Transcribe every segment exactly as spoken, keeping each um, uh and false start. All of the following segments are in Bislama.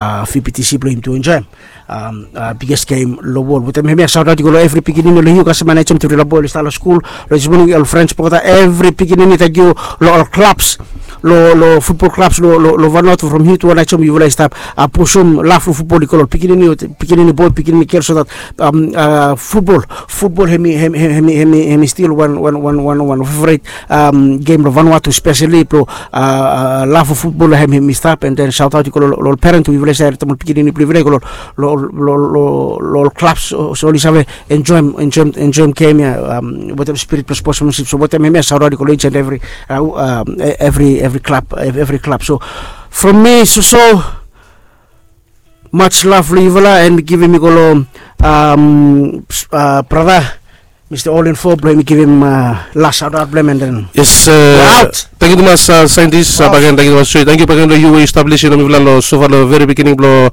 VPTC blong yumi tu enjoem biggest game long wol. Wetem hemia saotaot i go long evri pikinini long yu kasem anai jom tevri long boy oli stap long skul long dismoning, ol frens blong olgeta evri pikinini. Tangkiu long ol klabs, long futbol klabs long Vanuatu from hiu tu anai jom yufala i stap pusum laf long futbol i go long pikinini, pikinini boy, pikinini gel, so dat futbol, futbol hemi stil wan wan wan wan wan fevret gem long Vanuatu speseli blong laf long futbol hem hemi stap. And then saotaot i go long ol peren tu yufala i save, ol pikinini blong yufala i go long ol klabs, so oli save enjoem, enjoem gem ya wetem spirit blong spotmensip. So wetem hemia saotaot i go long each and evri evri evri klab, evri klab. So from mi soso, much love long yufala, and mi givim i go long brata Mista Olin Fo blong yumi givim las saotaot blong hem, and then yes. Tangkiu tumas saintis, bagen tangkiu tumas Joy, tangkiu bagen long yu we yu stap lisin long mifala long sofa long veri beginning blong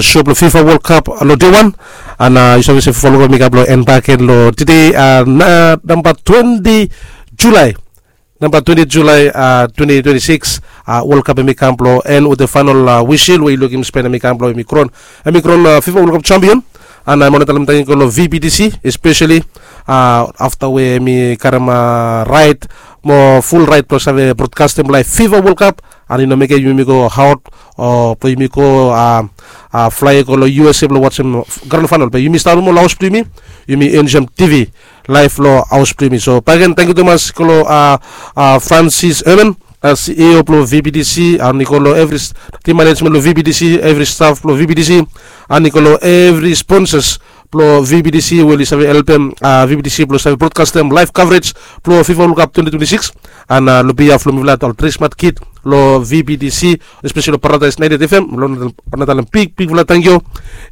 sho blong FIFA World Cup long dei wan. And yu save se folo mi kam blong en bagen long tede, namba twenti Julai, namba twenti Julai twenti twenti sikis, World Cup hemi kam blong en wetem faenol wisil we yu lukim spen hemi kam blong hemi kron, hemi kron FIFA World Cup champion. And mi wantem talem tangkiu long VPTC espeseli afta we hemi karem raet, mo ful raet blong save brodkastem laef FIFA World Cup. And i no mekem yumi go aot o blong yumi go flae go long USA blong wajem gran faenol, be yumi stap nomo long haos blong yumi, yumi enjoem TV laef long haos blong yumi. So bagen tangkiu tumas go long Francis Herman, CEO blong VPTC, and i go long evri tim manejmen blong VPTC, evri staf blong VPTC, and i go long evri sponsas blong VPTC we oli save helpem VPTC blong save brodkastem laef kavrej blong FIFA World Cup twenti twenti sikis. And long behalf blong mifala ol tri smat kid long VPTC, espeseli long Paradise ninety-eight FM, mi wantem talem bigbigfala tangkiu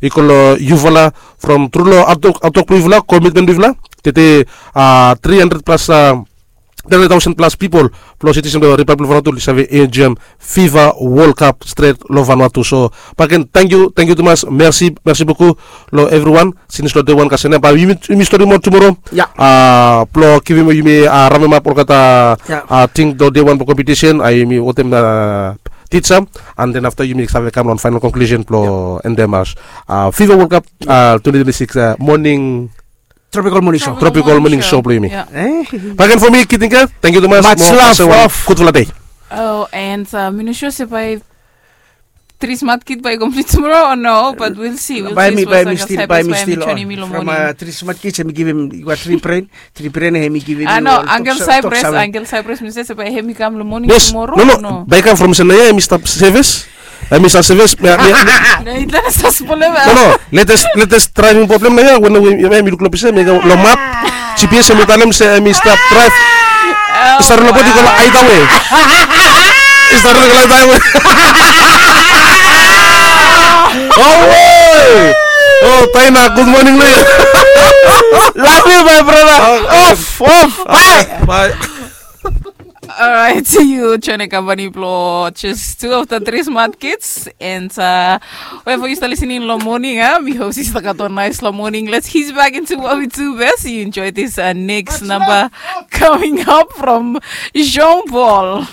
i go long yufala from tru long hatwok blong yufala, komitmen blong yufala. Tede tri handred plas, tri handred taosen plas pipol blong sitisen blong Ripablik Vanuatu oli save enjoem FIFA World Cup stret long Vanuatu. So bagen tangkiu, tangkiu tumas, mersi, mersi bokou long evriwan. Sins long dei wan kasem ya, bae yumi stori moa tumoro blong givim yumi rapemap olgeta ting long dei wan blong kompetisen. Yumi wetem tija, and then afta yumi save kam long faenol konklusen blong endem as FIFA World Cup twenti twenti sikis moning, Tropical Morning Show. Tropical Morning Show blong yumi. Bagen from mi, Kitinka, tangkiu tumas. Much love. Gudfala dei. Oh, and mi no sua se bae tri smat kid bae i komplit tumoro o no, but we'll see, we'll see. Bae mi, bae mi stil, bae mi stil joinim mi long moning. From tri smat kid hemi givim, i gat tri bren, tri bren hemi givim. Ah no, Uncle Cyprus, Uncle Cyprus mi se se bae hemi kam long moning tumoro o no? Bae i kam from se naoia hemi stap sevis. Hemi stap sevis. No, no, latest, latest driving problem naoia, we hemi luk long pisa, hemi go long map, GPS, hemi talem se hemi stap draev. I stap ron long bot i go long highway. I stap ron long highway. Awe. Oh, Taina, gud moning long yu. Love you, my brother. Off, off. Bye. Bye. Alright, yu join the company blong just two of the three smart kids. And uh, wherever you start listening long moning, ah, mi hope you start gat one nice long moning. Let's head back into what we do best. You enjoy this uh, next number coming up from Jean Paul.